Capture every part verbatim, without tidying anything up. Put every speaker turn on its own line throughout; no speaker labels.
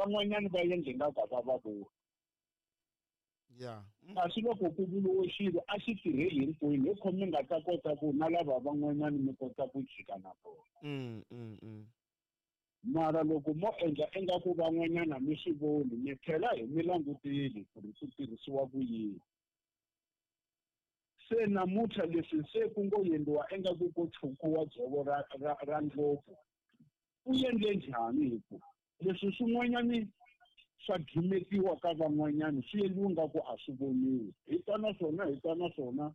Van'wanyani va endle nga ku a va va voni.
Yeah.
Kasi loko ku vuriwe xilo a xi tirheli hinkwenu, hi khomi nga ta kota ku na lava van'wanyani mi kota ku jika na vona.
Mm, mm, mm.
Mara loko mo endla ingaku van'wanyana mi swi voni, mi tlhela hi mi langutile ku ri swi tirhisiwa ku yini. Se namuntlha leswi se ku ngo endliwa ingaku ko tshukiwa dzovo ra, ra, ra ndlopfu, u endle njhani hi ku leswi swin'wanyani swa gimetiwa ka van'wanyani swi endliwa ingaku a swi voniwi. Hi ta na swona, hi ta na swona,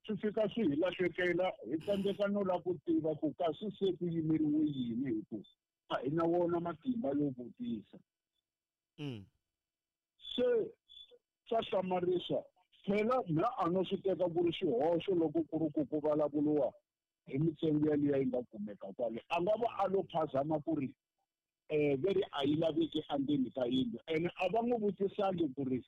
swi fika swi hi lahlekela, hi tsandzeka no lava ku tiva ku kasi se ku yimeriwe yini hi ku a hi na wona matimba yo vutisa.
Mm.
Se swa hlamarisa. Phela mina a no swi teka ku ri xihoxo loko ku ri ku ku vulavuriwa hi mintsengo yaliya yi nga kumeka kwale. A nga va a lo phazama ku ri eh veri a yi laveki endzeni ka yindlu, ene a va n'wi vutisangi ku ri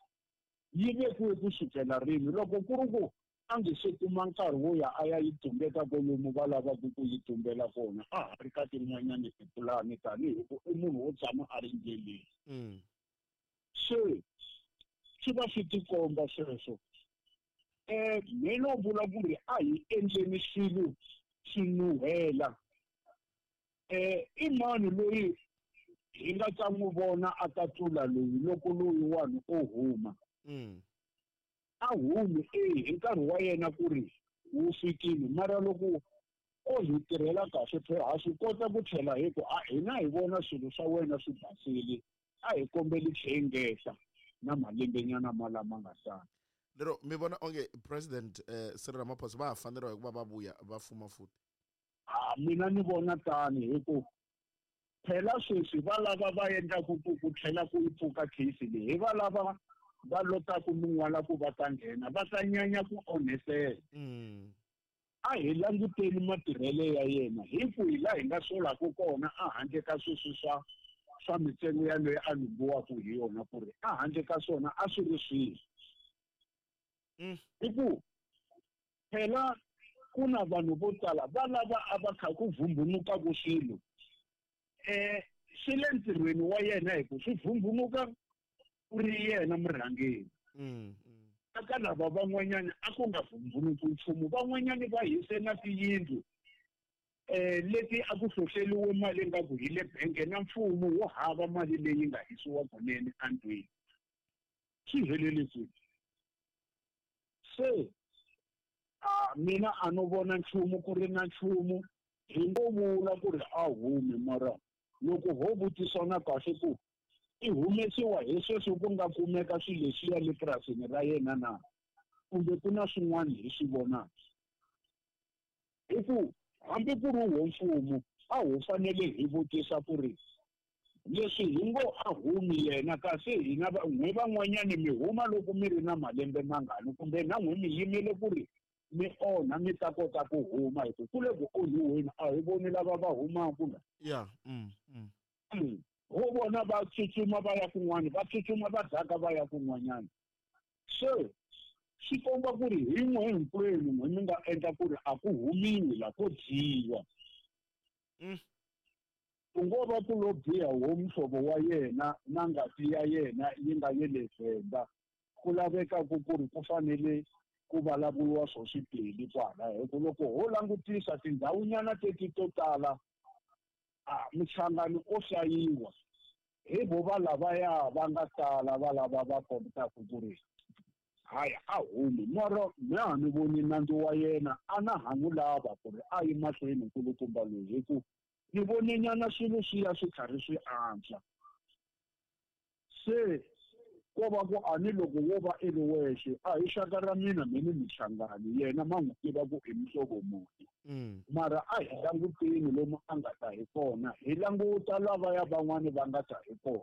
yi vekiwe ku sukela rini. Loko ku ri ku a nge se kuma nkarhi wo ya a ya yi tumbeta kwalomu va lavaka ku yi tumbela kona, a ha ri ka tin'wanyani tipulani tanihi ku i munhu wo tshama a ri ndleleni.
Mm.
Se swi va swi tikomba sweswo. Eh, me no vula ku ri a hi endleni swilo swi nuhela. Eh, i mani loyi hi nga ta n'wi vona a ta tlula loyi loko loyiwani o huma?
Mm.
A humi e hi nkarhi wa yena ku ri wu fikile, mara loko o hi tirhela kahle phela ha swi kota ku tlhela hi ku a hina hi vona swilo swa wena swi basile, a hi kombeli tlhengeta na malembenyana ma lama nga sala.
Lero mi vona onge President eh, Cyril Ramaphosa va ha faneriwa hi ku va va vuya va fuma futhi?
A mina ni vona tani hi ku phela sweswi va lava va endlaku ku ku tlhela ku yi pfuka case leyi, hi va lava va lotaku min'wala ku va ta nghena, va ta nyanya ku onhetela.
Mm.
A hi languteni matirhelo ya yena hi ku hi laha hi nga solaka kona a handle ka sweswi swa, swa mintsengo yaleyo a lumbiwaka hi yona, ku ri a handle ka swona a swi ri swihi.
Mm.
Hi ku phela ku na vanhu vo tala va lava a va kha ku vhumbunukaka swilo. Eh, swi le ntirhweni wa yena hi ku swi vhumbhunuka ku ri yena murhangeri.
Mm, mm.
Eka lava van'wanyana a ku nga vhumbhunuki nchumu, van'wanyani va hise na tiyindlu eh leti a ku hlohleriwe mali ingaku hi le bank, na mfumo wo hava mali leyi nga hisiwa kunene endlwini. Swi helele kwihi? Se a mina a no vona nchumu ku ri na nchumu, hi ngo vula ku ri a humi, mara loko ho vutisana kahle ku i humesiwa hi sweswi ku nga kumeka swilo leswiya le purasini ra yena na, kumbe ku na swin'wana hi swi vonaka. Hi ku hambi ku ri wo mfumo a ho fanele hi vutisa ku ri leswi hi ngo a humi yena, kasi hina va-, n'we van'wanyani mi huma loko mi ri na malembe mangani, kumbe na n'we mi yimele ku ri mi onha mi ta kota ku huma, hi ku ku le ku onhiweni a hi voni lava va humaka la.
Yeah, mm, mm.
Mm. Ho vona va tsutsuma va ya kun'wana, va tsutsuma va daka va ya kun'wanyana. Se swi komba ku ri hi n'we hinkwenu n'we mi nga endla ku ri a ku humiwi la ko dyiwa.
Mm.
Ku ngo va ku lo biha wo muhlovo wa yena na ngati ya yena yi nga ye le Venda, ku laveka ku ku ri ku fanele ku vulavuriwa swo swipeli kwala, hi ku loko ho langutisa tindhawunyana teti to tala, a Mchangani o hlayiwa hi vo va lavaya va nga tala va lava va kotaka ku ri hayi a humi, mara mina a ni voni nandzu wa yena, a na ha n'wi lava ku ri a yi mahlweni nkulukumba loyi, hi ku ni voninyana swilo swi ya swi karhi swi antswa. Se ko va ku a ni loko wo va i ri wexe, a hi xaka ra mina me ni Mchangani, yena ma n'wi tiva ku i muhlovo muni.
Mm.
Mara a hi languteni lomu a nga ta hi kona, hi languta lavaya van'wani va nga ta hi kona.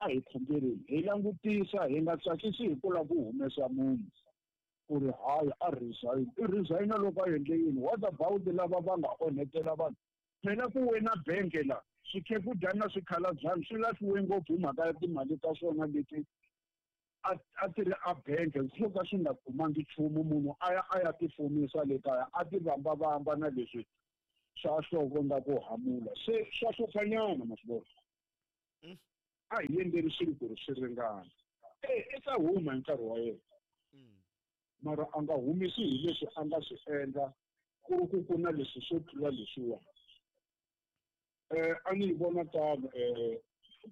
A hi khongeleni, hi langutisa, hi nga tsakisi hi ku lava ku humesa munhu ku ri hayi a resign. I resign loko a endle yini? What about lava va nga onhetela vanhu? Phela ku wena bank la, swikhekhudyana na swikhalabyanyi swi lahliwe ngopfu hi mhaka ya timali ta swona leti a, a ti ri a bank, swo ka swi nga kumangi nchumu, munhu a ya a ya tifumisa le kaya, a ti vambavamba na leswi swa nhloko nga ku hamula. Se swa hluphanyana ma swi vona.
Mm.
A hi endleni swilo ku ri swi ringana. E i ta huma hi nkarhi wa yena. Mara a nga humisi hi leswi a nga swi endla ku ri ku ku na leswi swo tlula leswiwa. Eh a ni yi vona tano eh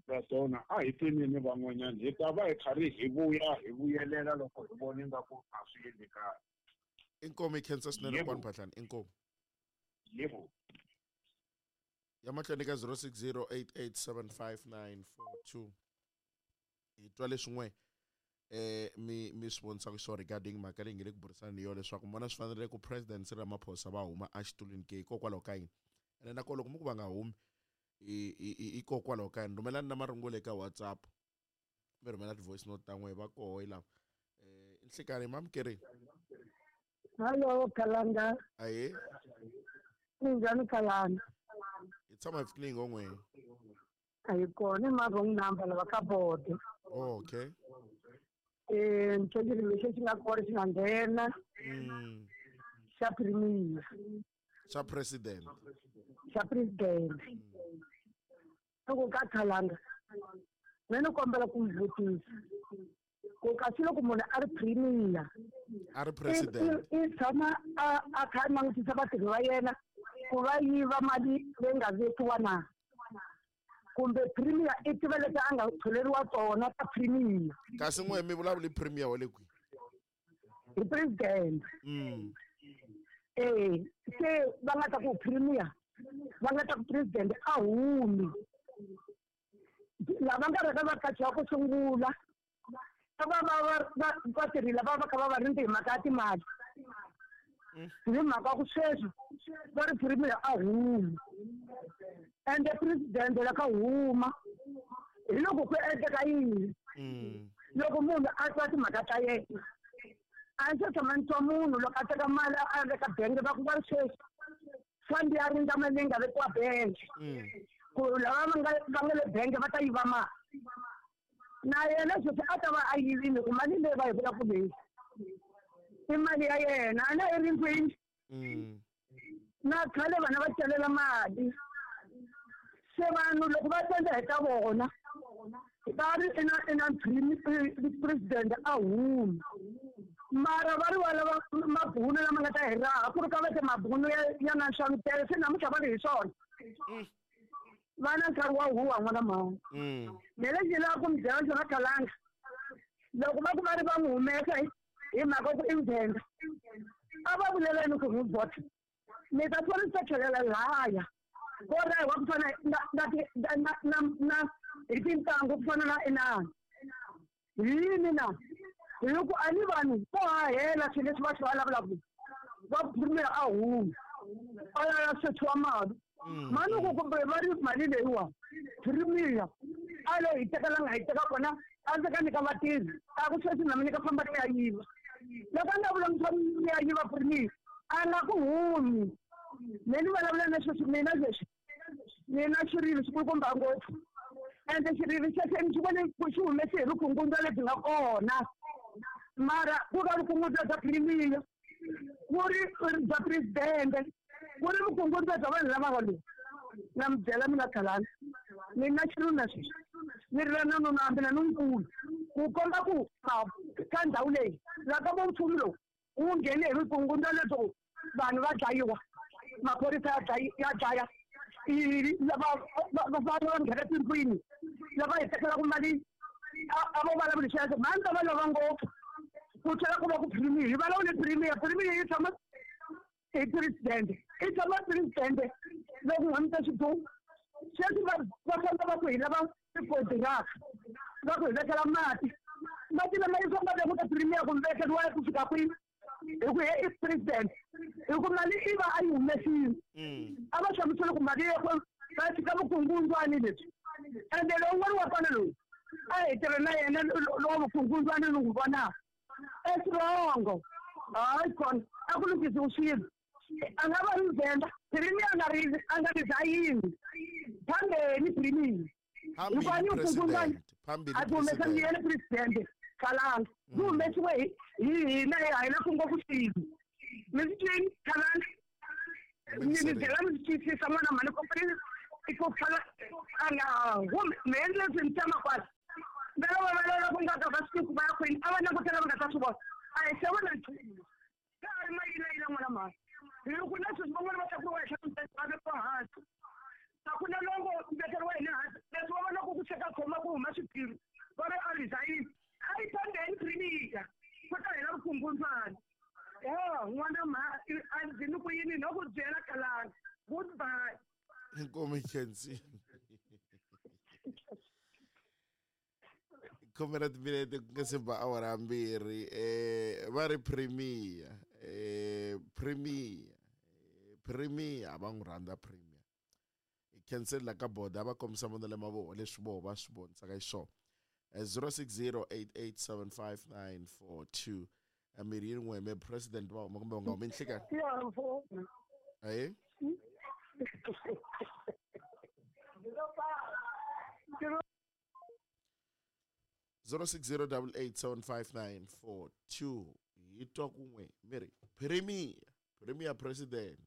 Bradona a hi teneni van'wanyana hi ta va hi karhi hi vuya hi vuyelela loko hi vona ingaku a swi endli kahle.
Inkomu hi khensa swinene kwani Phahlane, inkomu.
Yebo.
Ya mahlweni ka zero six zero eight eight seven five nine four two. Hi twa leswi n'we eh mi mi swi vonisaka xiswona regarding mhaka leyi nge le ku burisaneni yona leswaku mi vona swi fanerile ku President Cyril Ramaphosa va huma exitulwini ke hikokwalaho ka yini, ene na kona loko mi ku va nga humi hikokwalaho ka yini. Rhumelani na marungula eka WhatsApp, mi rhumela ti-voice note ta n'we va koho yi lava. Eh nhlikani mamukerini.
Hello Kalanga.
Ahe.
Minjhani Kalanga?
Hi tshama hi pfukile hi ngo n'we.
A hi kona i ma wrong number lava ka board.
Oh, okay.
Eh ntsongile lexi xi nga kona xi nga nghena.
Mm.
Xa premier.
Xa president.
Xa president. Loko ka Kalanga. Mina ni kombela ku mi vutisa. Ku kasi loko munhu a ri premier.
A ri president.
I tshama a a kha a langutisa vatirhi va yena ku va yiva mali leyi nga vekiwa na. Kumbe premier i tiva leti a nga tholeriwa tona ta premier.
Kasi n'we mi vulavuli premier wa le kwihi?
Hi president.
Mm.
Eh, se va nga ta ku premier, va nga ta ku president a humi. Lava nga rhanga va qachiwa ku sungula, va va va va vatirhi lava va kha va va rindze hi mhaka ya timali. Hi mhaka ku sweswi va ri premier a humi. Ende president la ka huma hi loko ku endleka yini? Loko munhu a twa timhaka ta yena, a ndzi se tshama ni twa munhu loko a teka mali a veka bangi va ku va ri sweswi fund ya rindza mali leyi nga vekiwa bangi. Ku lava va nga va nga le bangi va ta yiva mali. Na yena sweswi a ta va a yivile ku mali leyi va yi vulaka leyi i mali ya yena, a na yi rindzini. Na khale vana va celela mali. Se vanhu loko va tendza hi ta vona va ri ina ina president a humi. Mara va ri va lava mabunu lama nga ta hi raha ku ri ka va te mabunu ya ya na nxavutelo se namuntlha va ri hi swona. Va na nkarhi wa huwa n'wana mhani. Me lexi ni lavaka ku mi byela xona Kalanga, loko va ku va ri va n'wi humesa hi mhaka ku i Mvenda, a va vuleleni ku n'wi vhota. Mi ta twa ni ta tlhelela lahaya. Ko rahiwa ku fana na na na na na hi tintangu ku fana na inani. Yini na? Hi ku a ni vanhu vo hahela swilo leswi va swi vulavulaka. Va premier a humi. A ya ya sechiwa mali. Mali ku kumbe va ri mali leyiwa premier a lo hi teka la nga hi teka kona a ndzi ka nyika vatirhi a ku sweswi na mina ka famba ni ya yiva. Loko a nga vulavula ni ya yiva premier a nga ku humi. Me ni vulavula na sweswi mina leswi mina xirilo xi kulukumba ngopfu. Ende xirilo xexo ni xi vone ku xi humese hi vukungundzwa lebyi nga kona. Mara ku nga vukungundzwa bya premier, ku ri bya president, ku ri vukungundzwa bya vanhu lava nga lowu. Na mi byela mina Kalanga, mina xirilo na sweswi ni rila na nuna hambi na lonkulu ku komba ku ka ndhawu leyi laha ka vo mfumo lowu wu nghene hi vukungundzwa lebyo vanhu va dlayiwa, maphorisa ya dlaya ya dlaya lava va va nghena tindlwini lava hi tekelaka mali a vo vulavuli sweswo mhani ta va lova ngopfu ku tlhela ku va ku premier hi vulavule premier premier yi tshama hi president i tshama president loko n'wi ta xidumu sweswi va va famba va ku hi lava tikontiraka va ku hi vekela mati mati lama yi famba ku ta premier ku vekeriwa ku fika kwini hi ku he i president hi ku mali i va a yi humesile a va hlamusele ku mali ya va tshika vukungundzwani lebyi ende lowun'wana wa kona lowu a hi tirha na yena lowa vukungundzwani ni n'wi vonaka eswirongo hayi kona a ku lunghisiwi swilo a nga va ri Mvenda premier a nga ri a nga resign phambeni premier hikuva ni vukungundzwani a ti humesangi yena president Kalanga ku humesiwe hi hina hi hina ku ngopfu swilo mi swi twini Kalanga mi mi byela mi swi twisisa n'wana mhani ku I ku khala a nga humi me endle swi ni tshama kwala va lava va lava ku nga ka va swi ku va ya kwini a va langutela va nga ta swi vona a hi se vona nchumu ka ha ri mayilayila n'wana mhani hi ku na sweswi van'wana va tlakuriwa henhla va vekiwa hansi a ku na longo vekeriwa hina hansi leswi va vonaka ku cheka khoma ku huma swiphiru va ri a resign a yi tondeni premier ku ta hela vukungundzwana ya n'wana mha a ndzi ni ku yini no ku byela kalanga goodbye.
Inkomu Khensi. Khume ra timinete ku nga se ba awara mbirhi eh va ri premier eh premier premier a va n'wi rhandza premier hi khensela ka boda va kombisa vonelo mavoho leswi voho va swi vonisaka xiswona zero six zero eight eight seven five nine four two mirhi yin'we me president va huma kumbe va nga humi nhlekani ahe zero six zero double eight seven five nine four two hi twa kun'we miri premier premier president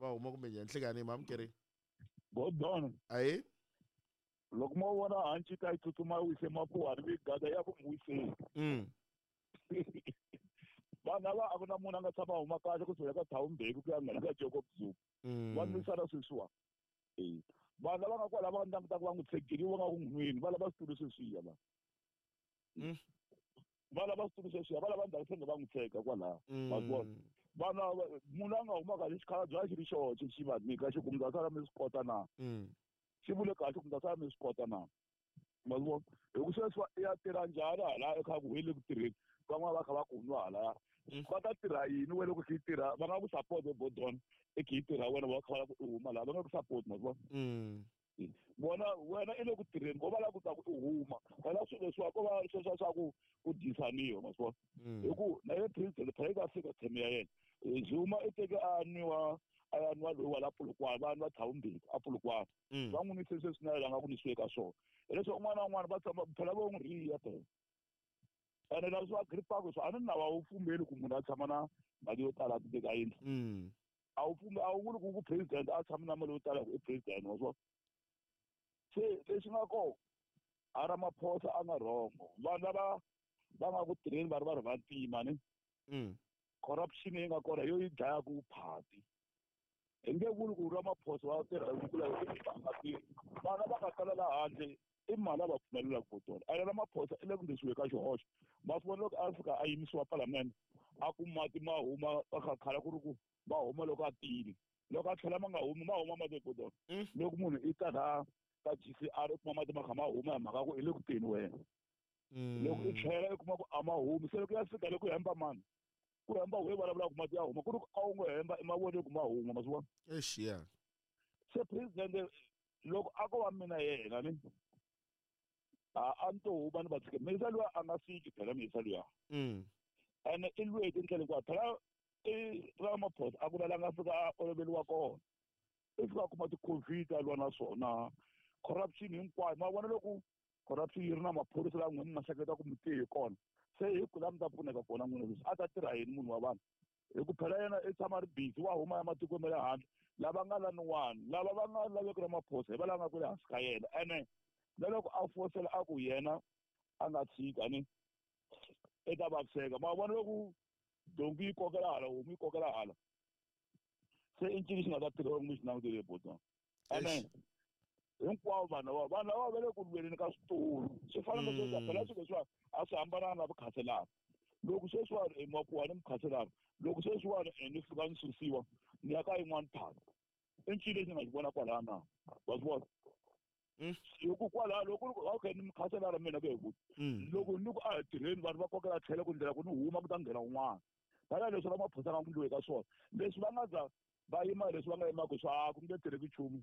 va huma kumbe njhani nhlekani mamukeri
Godon
ahe
loko mo vona hanci ta yi tsutsuma yi wise mapuwani mi gada ya ku n'wi wiseni
mm
vanhu lava a ku na munhu a nga tshama huma kahle ku suka ka Thawumbeki ku ya nghena ka Jacob Zuma va nwisana sweswiwa e vanhu lava nga kwala va nga langutaka va n'wi tshegeriwa va nga ku n'wini va lava switulu sweswiya va va lava switulu sweswiya va lava ndhawu senge va n'wi tshega kwalaho ma vona vanhu munhu a nga huma kahle xikhalabye a xi ri xoxe xi va nyika xi ku mi ta sala mi swi kota na xi vule kahle ku mi ta sala mi swi kota na ma vona hi ku sweswi i ya tirha njhani hala ekha ku hi le ku tirheni van'wana va kha va ku nwa halaya va ta tirha yini wena loko khe yi tirha va nga ku support Bodon i khe yi tirha wena va kha va lava ku i huma laha va nga ku support ma vona vona wena i le ku tirheni ko va lava ku ta ku i huma wena swilo leswiwa ko va sweswiya swa ku ku dyisaniwa ma swi vona hi ku na ye president phela yi ta fika term ya yena Zuma i teke a nwiwa a ya nwa loyi wa la Polokwane va nwa Thawumbeki a Polokwane va n'wi nwise sweswi na yena a nga ku nwisiwe ka swona hileswo un'wana na un'wana va tshama phela vo n'wi riya phela ene leswi va gripaka swo a ni nawu a wu pfumeli ku munhu a tshama na mali yo tala a teka yindlu a wu pfumeli a wu vuli ku ku president a tshami na mali yo tala ku i president wa swona se lexi nga kona a Ramaphosa a nga wrong vanhu lava va nga ku tirheni va ri va ri vantima ni corruption yi nga kona yo yi dlaya ku phati hi nge vuli ku Ramaphosa va tirha ku la nga tirhi vanhu lava nga tala la handle i mali a va pfumelelaka ku tona ene Ramaphosa i le ku ndlisiwe ka xihoxo ma swi vona loko a fika a yimisiwa palamende a ku mati ma huma a khala ku ri ku ma huma loko a tile loko a tlhela ma nga humi ma huma mati kodona loko munhu i ta laha ka G C R u kuma mati ma kha ma huma hi mhaka ku i le ku teni wena loko i tlhela i kuma ku a ma humi se loko ya fika le ku hemba mani ku hemba we vulavulaka mati ya huma ku ri ku a wu ngo hemba i ma vone ku ma huma ma swi vona
eish ya
se president loko a ko va mina yena ni a a ni to huma ni va tshike miyisa luya a nga fiki phela miyisa luya ene i lwe hi tindlela hinkwato phela i Ramaphosa a ku na la nga fika a oloveriwa kona i fika a kuma ti-COVID a lwa na swona corruption hinkwayo ma vona loko corruption yi ri na maphorisa laha n'wina mi nga hleketa ku mi tiye hi kona se hi ku laha mi ta pfuneka kona n'wina leswi a ta tirha yini munhu wa vanhu hi ku phela yena i tshama ri busy wa huma ya matikweni ma le handle lava nga laniwani lava va nga laveki Ramaphosa hi va lava nga ku le hansi ka yena ene na loko a fosela a ku yena a nga tshika ni i ta vaviseka ma vona loko donki yi kokela hala homu yi kokela hala se i ncini xi nga ta tirha mi xi langutele botona ene hinkwavo vanhu lava vanhu lava va le ku lweni ka switulu swi fana na sweswi phela swilo leswiwa a swi hambananga na vukhanselara loko sweswiwani i makuwa ni mukhanselara loko sweswiwani ni fika ni susiwa ni ya ka yin'wana phaka i ncini lexi ni nga xi vona kwalaya na wa swi vona hi ku kwalaho loko okay ni mukhanselara mina ku hi loko ni ku a hi tirheni vanhu va kokela tlhelo ku ndlela ku ni huma ku ta nghena un'wana phela leswi Ramaphosa nga ku ndliwe ka swona leswi va nga za va yima leswi va nga yimaka swa ku nge tirheki nchumu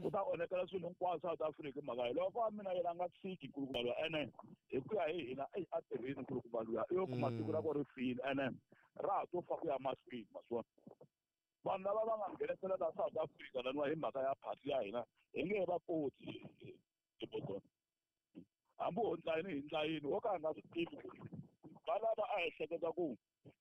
ku ta onhekela swilo hinkwaswo South Africa mhaka loko a mina yena a nga tshiki nkulukumba luya ene hi ku ya hi hina eyi a tirhini nkulukumba luya i yo kuma tiko ra ku ri file ene ra ha to fa ku ya mahlweni ma swi vona vanhu lava va nga nghenisela la South Africa laniwa hi mhaka ya phati ya hina hi nge va koti tibodona hambi ho ndlayini hi ndlayini wo ka a nga swi tivi ku va lava a hi hleketa ku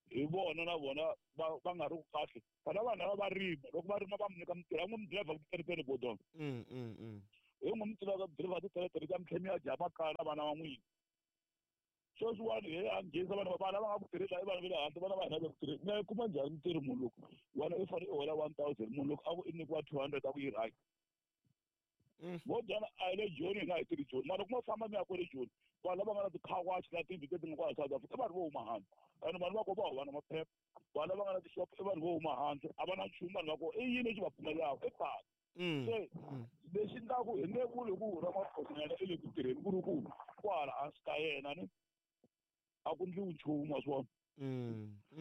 Hi vona na vona va va nga ri kahle. Phela vanhu lava va rima, loko va rima va mi nyika mintirho, a n'wi mi driver titeretere bodon.
Mm mm mm.
Hi n'wi mi tivaka driver titeretere ta mi tlhela mi ya dya makaya na vana va n'wina. Sweswiwani hi a nghenisa vanhu va vana va nga ku tirhela i vanhu va le handle, vana va hina va ku tirhela. Mi ya yi kuma njhani mintirho munhu loko wena i fanele i hola one thousand, munhu loko a ku i nyikiwa two hundred a ku yi right. Vo dyana a hi le Joni, hina a hi tirhi Joni. Mara loko mo famba mi ya kwale Joni, vanhu lava nga na ti-car wash na tiyindlu leti nga kwala South Africa i vanhu vo huma handle. Ene vanhu va kona va hova na maphepha. Vanhu lava nga na tixopo i vanhu vo huma handle, a va na nchumu vanhu va kona. I yini lexi va pfumelelaka? I pasi. Se lexi endlaku hi nge vuli ku Ramaphosa na yena i le ku tirheni ku ri ku kwala hansi ka yena ni a ku ndliwi nchumu wa swi vona.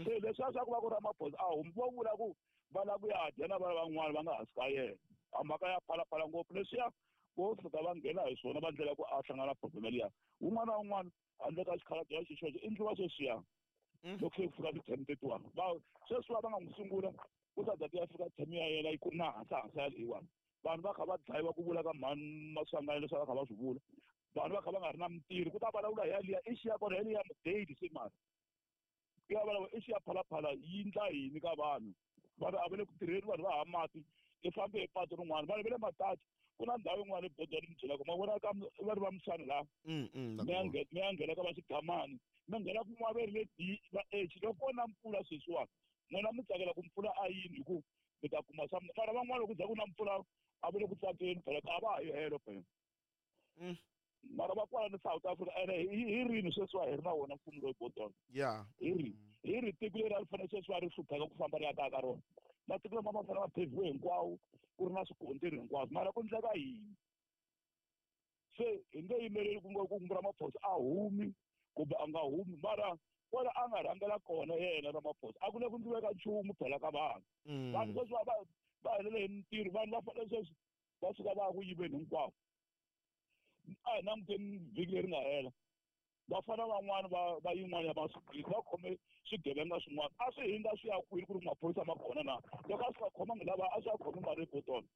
Se leswiya swa ku va ku Ramaphosa a humi vo vula ku va lava ku ya dya na vana van'wana va nga hansi ka yena. A mhaka ya phalaphala ngopfu leswiya vo fika va nghena hi swona va ndlela ku a hlangana na problem liya. Wun'wana na wun'wana handle ka xikhalabye xi xoxe i ndliwa sweswiya. Loko se ku fika ti-term tetiwani va sweswiwa va nga n'wi sungula ku ta za ti ya fika term ya yena yi ku na hansi hansi ya leyiwani. Vanhu va kha va dlayiwa ku vula ka mhani Maswanganyi leswi va kha va swi vula. Vanhu va kha va nga ri na mintirho ku ta vulavula hi yaliya i xiya kona yaliya mudate se mara. Ku ya vulavula i xiya phalaphala yi ndla yini ka vanhu. Vanhu a va le ku tirheni, vanhu va hava mati. I fambe hi patu rin'wana, vanhu va le Matachi. Ku na ndhawu yin'wana ebodweni mi byelaka ma vona ka va ri va Msani laha. Mi ya mi ya nghena ka va Xigamani, mi nghena kun'wana va ri le D va H. Loko ko na mpfula sweswiwani, n'wina mi tsakela ku mpfula a yini hi ku mi ta kuma swa mara van'wana loko ku za ku na mpfula a va le ku tsakeni phela a va ha yi helo phela. Mara va kwala ni South Africa ene hi rini sweswiwa hi ri na wona mfumo loyi bodoni.
Yeah.
Hi ri hi ri tiko leri a ri fanele sweswiwa ri hlupheka ku famba ri ya kaya ka rona. Matiko lama ma fanele ma pheviwe hinkwawo ku ri na swikontiri hinkwaswo mara ku ndleka yini? Se hi nge yimeleli ku ngo ku Ramaphosa a humi kumbe a nga humi mara kwala a nga rhangela kona yena Ramaphosa a ku le ku ndliweka nchumu phela ka vanhu. Vanhu sweswi va va helele hi mintirho, vanhu va fanele sweswi va suka va ya ku yiveni hinkwavo. A hi languteni vhiki leri nga hela vafana van'wana va va yin'wana ya va va khome swigevenga swin'wana a swi hindza swi ya kwini ku ri maphorisa ma kona na loko a swi nga khomangi lava a swi ya khomi mali ebotolo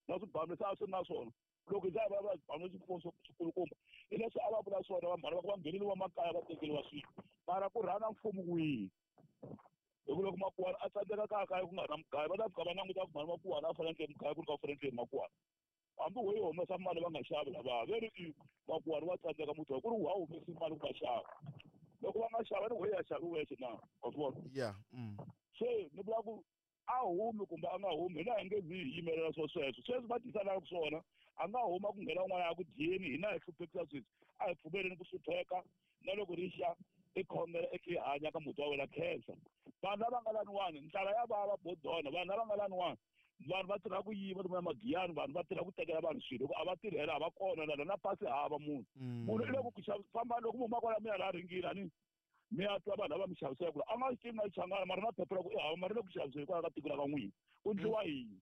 na swibamu leswi a swi ri na swona loko hi za hi vulavula swibamu leswi swikulukumba hi leswi a va vula swona vamhana va ku va ngheneliwa makaya va tekeriwa swilo mara ku rhanga mfumo wihi hi ku loko Makuwana a tsandzeka kaya kaya ku nga ri na mugayo va ta fika va languta ku mhani Makuwana a fanele endle mugayo ku ri ka u fanele endle Makuwana hambi wo yi humesa mali va nga xavi lava ve ri i Makuwana wa tsandzeka muti wa ku ri wa humesi mali ku va xava loko va nga xava ni wo ya xavi wexe na wa swi vona
yeah mm.
Se ni vula ku a humi kumbe a nga humi hina hi nge zi hi yimelela swo sweswo sweswi va tisanaka swona a nga huma ku nghena un'wana ya ku dyeni hina hi hluphekisa sweswi a hi pfumeleni ku hlupheka na loko ri xa i khongela i khe hanya ka muti wa wena khensa vanhu lava nga laniwani ndlala ya vava bodona vanhu lava nga laniwani vanhu va tirha ku yiva lomu ya magiyani vanhu va tirha ku tekela vanhu swilo loko a va tirhela a va kona lana na pasi hava munhu munhu i le ku famba loko mi huma kwala mi ya laha ringini ani mi ya twa vanhu lava mi xavisela ku a nga swi tivi na Xichangana mara na phepha ra ku i hava mara le ku xaviseni kwala ka tiko ra ka n'wina ku ndliwa yini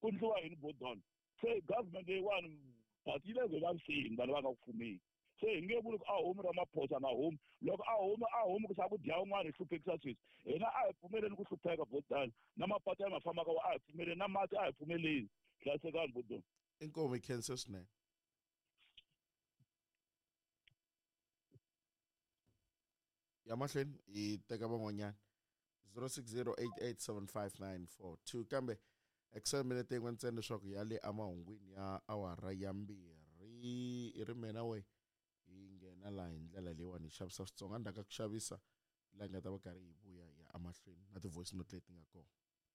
ku ndliwa yini bodona se government leyiwani but yi le ku vaviseni vanhu va nga ku fumeni se hi nge vuli ku a humi Ramaphosa nga humi loko a humi a humi ku sa ku dya un'wana hi hluphekisa sweswi hina a hi pfumeleni ku hlupheka bodana na mapatu ya ma fambaka a hi pfumeleni na mati a hi pfumeleni hlayisekani bodona
inkomu hi khensa swinene ya mahlweni hi teka van'wanyana zero six zero eight eight seven five nine four two kambe excel minete yin'we ntsena leswaku ya le emahungwini ya awara ya mbirhi i ri mina we hi nghena laha hi ndlela leyiwani hi xavisa Switsonga endzhaku ka ku xavisa laha hi nga ta va karhi hi vuya hi ya emahlweni na ti-voice note leti nga kona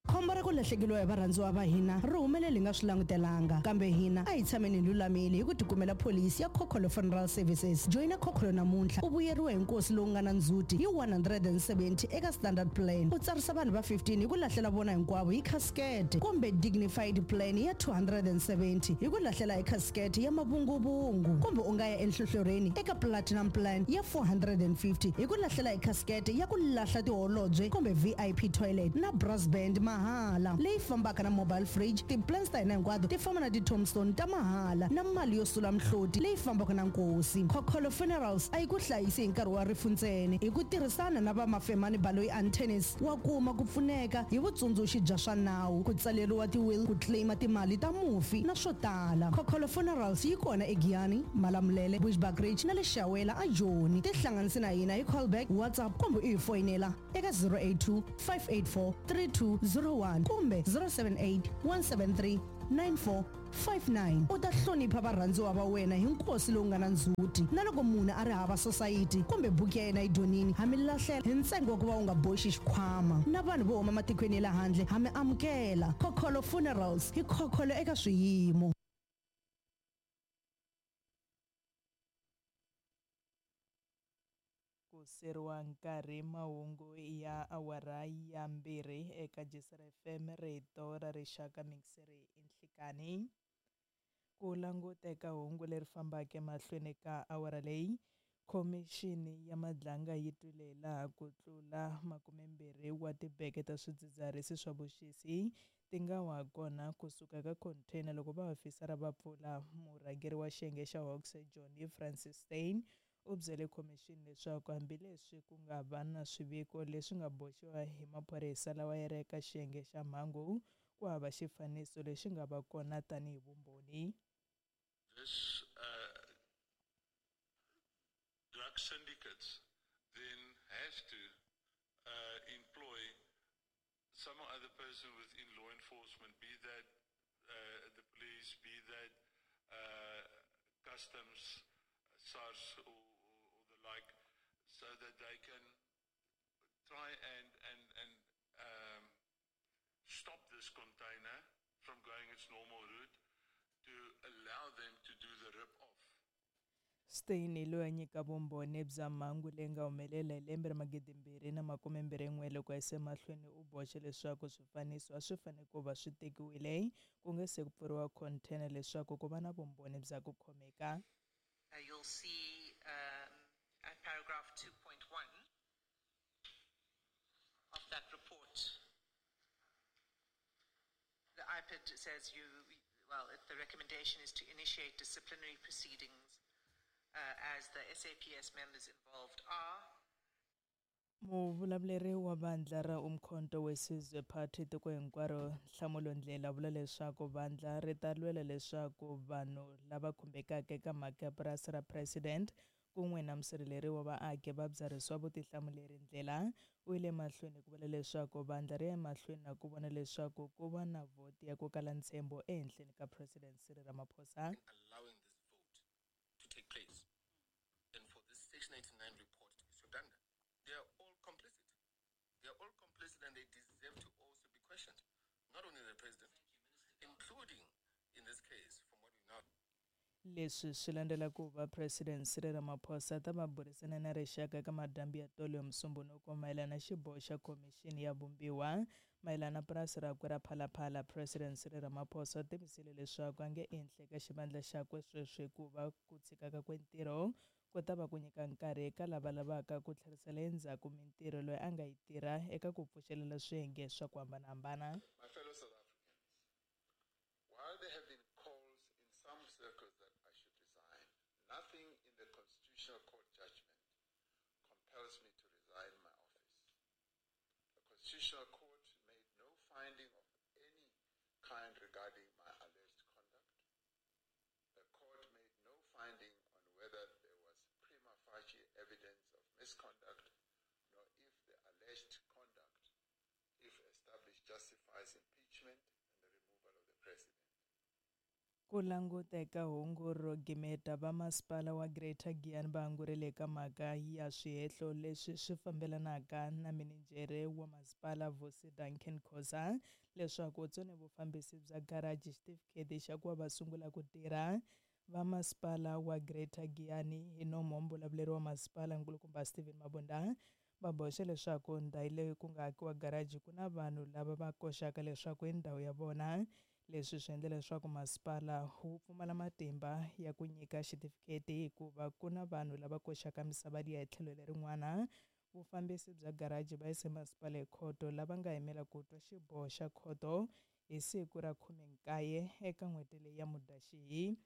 Khombo ra ku lahlekeriwa hi varhandziwa va hina ri humelele hi nga swi langutelanga kambe hina a hi tshameni hi lulamile hi ku tikumela pholisi ya Khokholo Funeral Services joyina Khokholo namuntlha u vuyeriwa hi nkosi lowu nga na ndzhuti hi one hundred and seventy eka standard plan u tsarisa vanhu va fifteen hi ku lahlela vona hinkwavo hi casket kumbe dignified plan ya two hundred and seventy hi ku lahlela hi casket ya mavunguvungu kumbe u nga ya enhlohlorheni eka platinum plan ya four hundred and fifty hi ku lahlela hi casket ya ku lahla tiholobye kumbe V I P toilet na brass band mahala leyi fambaka na mobile fridge. Ti-plans ta hina hinkwato ti famba na ti-tombstone ta mahala na mali yo sula mihloti leyi fambaka na nkosi. Khokholo Funerals a yi ku hlayisi hi nkarhi wa rifu ntsena. Hi ku tirhisana na va Mafemani Baloyi and Tennis wa kuma ku pfuneka hi vutsundzuxi bya swa nawu, ku tsaleriwa ti-will, ku claima timali ta mufi na swo tala. Khokholo Funerals yi kona eGiyani, Malamulele, Bushbuckridge na le Shawela a Joni. Tihlanganise na hina hi callback, WhatsApp kumbe u hi foyinela eka zero eight two, five eight four, three two zero one kumbe zero seven eight, one seven three, nine four five nine. U ta hlonipha varhandziwa va wena hi nkosi lowu nga na ndzhuti. Na loko munhu a ri hava society kumbe buku ya yena yi dyonini, ha mi lahlela hi ntsengo wa ku va u nga boxi xikhwama. Na vanhu vo huma matikweni ya le handle ha mi amukela. Khokholo Funerals hi khokholo eka swiyimo.
Ku seriwa nkarhi mahungu ya awara ya mbirhi eka J C R F M, rito ra rixaka, mixeri inhlikani. Ku languteka hungu leri fambaka emahlweni ka awara leyi, khomixini ya Madlanga yi twile laha ku tlula makumembirhi wa tibeke ta swidzidziharisi swa vuxisi ti nga wa kona kusuka ka container loko vaofisara va pfula. Murhangeri wa xiyenge xa Hawks Johnny Francis Steyn u byele khomixini leswaku hambileswi ku nga va na swiviko leswi nga boxiwa hi maphorisa lawa ya ri eka xiyenge xa mhangu, ku hava xifaniso lexi nga va kona tanihi vumbhoni.
This, uh, drug syndicates then have to, uh, employ some other person within law enforcement, be that, uh, the police, be that, uh, customs, SARS or, or, or the like, so that they can try and, and, and, um, stop this container from going its normal route to allow them to do the rip-off.
Steyn loyi a nyika vumbhoni bya mhangu leyi nga humelela hi lembe ra magidi mbirhi na makume mbirhi n'we loko a yisa emahlweni u boxe leswaku swifaniso a swi fanele ku va swi tekiwile ku nga se ku pfuriwa container leswaku ku va na vumbhoni bya ku khomeka.
Uh, you'll see, um, at paragraph two point one of that report, the I P D says you, well, the recommendation is to initiate disciplinary proceedings, uh, as the S A P S members involved are.
Muvulavuleri wa vandla ra Umkhonto weSizwe Party tiko hinkwaro Nhlamulo Ndlela vula leswaku vandla ri ta lwela leswaku vanhu lava khumbekaka eka mhaka ya purasi ra president kun'we na musirheleri wa vaaki va byarhisiwa vutihlamuleri. Ndlela u yile mahlweni ku vula leswaku vandla ri ya emahlweni na ku vona leswaku ku va na vhoti ya ku kala ntshembo ehenhleni ka President Cyril Ramaphosa.
Allowing this vote to take place and for this Section eighty-nine report to be redundant. They are all complicit. They are all complicit and they deserve to also be questioned. Not only the president, including in this case, from what we know.
Leswi swi landzela ku va President Cyril Ramaphosa ta va burisana na rixaka eka madyambu ya tolo ya Musumbhunuko mayelana na xiboho xa khomixini ya vumbiwa mayelana na purasi rakwe ra Phalaphala. President Cyril Ramaphosa u tivisile leswaku a nge endli eka xivandla xakwe sweswi hikuva ku tshika kakwe ntirho ku ta va ku nyika nkarhi eka lava lavaka ku tlherisela endzhaku mintirho loyi a nga yi tirha eka ku pfuxelela swiyenge swa ku hambanahambana.
My fellow South Africans, while there have been calls in some circles that I should resign, nothing in the Constitutional Court judgment compels me to resign my office. The Constitutional Court made no finding of any kind regarding my alleged conduct. The court made no finding on whether there was prima facie evidence of misconduct, nor if the alleged conduct, if established, justifies impeachment and the removal of the president.
Ku languteka hungu ro gimeta va masipala wa Greater Giyani va angurile eka mhaka ya swihehlo leswi swi fambelanaka na mininjhere wa masipala Vusi Duncan Khoza leswaku u tsone vufambisi bya garaji xitifiketi xa ku va va sungula ku tirha. Va masipala wa Greater Giyani hi nomo mbulavuleri wa masipala nkulukumba Steven Mabunda va boxe leswaku ndhawu leyi ku nga akiwa garaji ku na vanhu lava va koxaka leswaku i ndhawu ya vona. Leswi swi endla leswaku masipala wu pfumala matimba ya ku nyika xitifiketi hikuva ku na vanhu lava koxaka misava liya hi tlhelo lerin'wana. Vufambisi bya garaji va yise masipala ekhoto lava nga yimela ku twa xiboho xa khoto hi siku ra khume nkaye eka n'hweti leyi ya Mudyaxihi.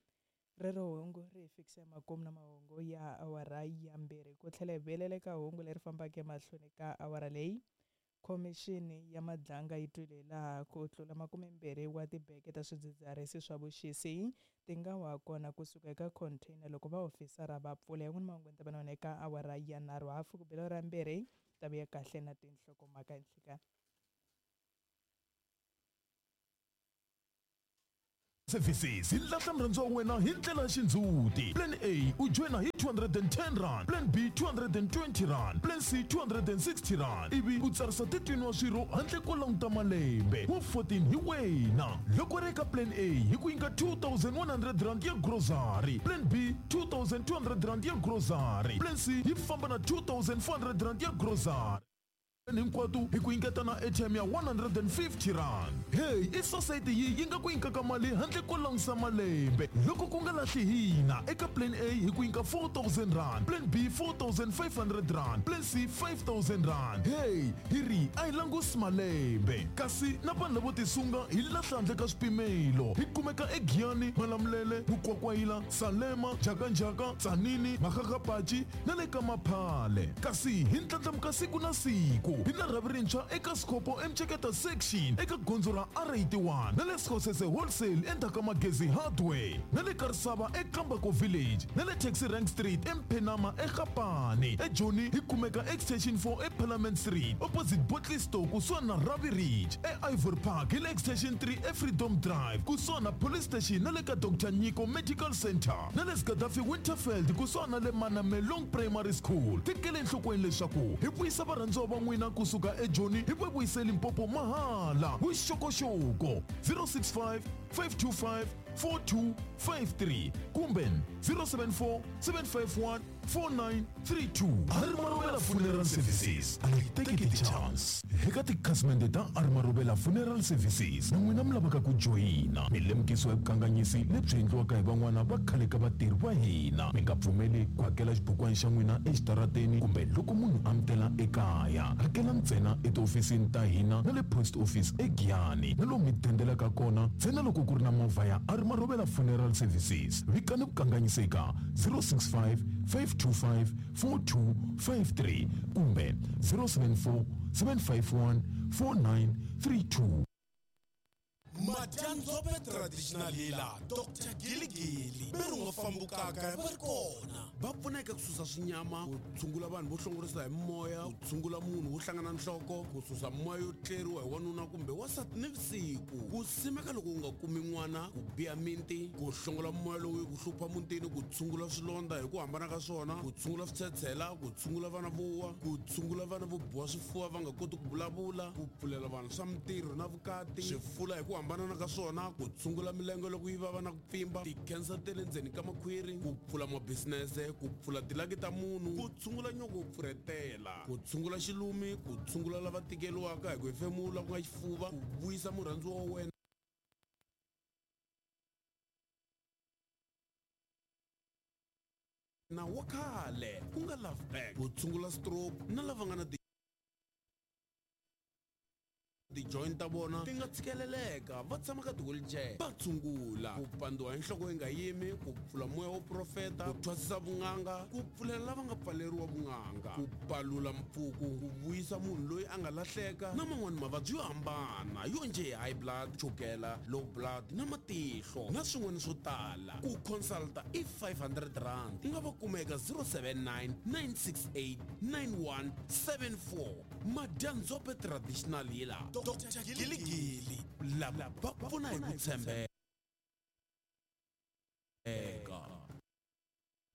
Rero hungu ri hi fikisa emakumu na mahungu ya awara ya mbirhi ku tlhela hi vuyelela eka hungu leri fambaka emahlweni ka awara leyi. Khomixini ya Madlanga yi twile laha ku tlula makumembirhi wa tibeke ta swidzidziharisi swa vuxisi ti nga wa kona kusuka eka container loko vaofisara va pfula. Yan'wini mahungu ni ta va na wona eka awara ya nharhu hafu ku bela ra mbirhi ta vuya kahle na tinhlokomhaka nhlikani.
Services hi lahla murhandziwa wa wena hi ndlela ya xindzhuti. Plan A u joyina hi two hundred and ten rand, Plan B two hundred and twenty rand, Plan C two hundred and sixty rand, ivi u tsarisa thirteen wa swirho handle ko languta malembe wa fourteen hi wena. Loko ri eka Plan A hi ku nyika two thousand one hundred rand ya grocery, Plan B two thousand two hundred rand ya grocery, Plan C yi famba na two thousand four hundred rand ya grocery hinkwato hi ku nyiketa na airtime ya one hundred and fifty rand. Hey, i society yi yi nga ku nyikaka mali handle ko langutisa malembe loko ku nga lahli hina. Eka Plan A hi ku nyika four thousand rand, Plan B four thousand five hundred rand, Plan C five thousand rand. Hey, hi ri a hi langusi malembe, kasi na vanhu lavo tisunga hi lahla handle ka swipimelo. Hi kumeka eGiyani, Malamulele, Mukwakwayila, Salema, Njhakanjhaka, Tzaneen, Makgakgapachi na le ka Maphale. Kasi hi ndlandlamuka siku na siku. Hi na rhavi rintshwa eka Scopo eMceketa section eka gondzo ra R eighty-one na le Skhosese Wholesale endzhaku ka Magezi Hardware na le Karisava eKambako Village na le Taxi Rank Street eMphenama eGapane. eJoni hi kumeka Extension four eParliament Street opposite Botley Store kusuhani na Ravi Ridge. E-Ivory Park hi le Extension three eFreedom Drive kusuhani na Police Station na le ka Doctor Nyiko Medical Center na le Gaddafi Winterfeld kusuhani na le Manamelong Primary School. Tekele enhlokweni leswaku hi vuyisa varhandziwa va n'wina kusuka eJoni hi va vuyise Limpopo mahala. Vuxokoxoko zero six five, five two five, four two five three kumbe zero seven four, seven five one, four nine three two. Arimarobela Funeral Services a yi teki ti-chance. Eka tikhasimende ta Arimarobela Funeral Services na n'wina mi lavaka ku joyina, mi lemukisiwa hi vukanganyisi lebyi endliwaka hi van'wana va khale ka vatirhi va hina. Mi nga pfumeli ku hakela xibukwana xa n'wina exitarateni kumbe loko munhu a mi tela ekaya. Hakela ntsena etihofisini ta hina na le post office eGiyani na lomu mi dendelaka kona ntsena loko ku ri na movha ya Arimarobela Funeral Services. Vikani vukanganyisi eka zero six five, five two five, four two five three kumbe zero seven four, seven five one, four nine three two.
Madyanzope traditional healer Doctor Giligili ve ri nga fambukaka va ri kona va pfuna eka ku susa swinyama, ku tshungula vanhu vo hlongorisa hi moya, ku tshungula munhu wo hlangana nhloko, ku susa moya yo tleriwa hi wanuna kumbe wansati nivusiku, ku simeka loko u nga kumi n'wana, ku biha minti, ku hlongola moya lowu yi ku hlupha mutini, ku tshungula swilondza hi ku hambana ka swona, ku tshungula switshetshela, ku tshungula vana vo wa, ku tshungula vana vo biwa swifuva va nga koti ku vulavula, ku pfulela vanhu swa mintirho na vukati, swifula hi ku hambana ka swona, ku tshungula milenge loko yi vava na ku pfimba, ti-cancer ta le ndzeni ka makhwiri, ku pfula mabisinese, ku pfula tilaki ta munhu, ku tshungula nyoko wo pfurhetela, ku tshungula xilumi, ku tshungula lava tikeriwaka hi ku hefemula ku nga xifuva, ku vuyisa murhandziwa wa wena na wa khale ku nga love back, ku tshungula stroke na lava nga na ti-joint ta vona ti nga tshikeleleka va tshama ka ti-wheelchair va tshungula, ku pandziwa hi nhloko yi nga yimi, ku pfula moya wo profeta, ku thwasisa vun'anga, ku pfulela lava nga pfaleriwa vun'anga, ku palula mpfuku, ku vuyisa munhu loyi a nga lahleka na man'wani mavabyi yo hambana yo njhe high blood, chukela, low blood na matihlo na swin'wana swo tala. Ku consulta i five hundred rand. U nga va kuma eka zero seven nine, nine six eight, nine one seven four. Madyanzope traditional healer Doctor Giligili lava va pfuna hi ku tshembeka.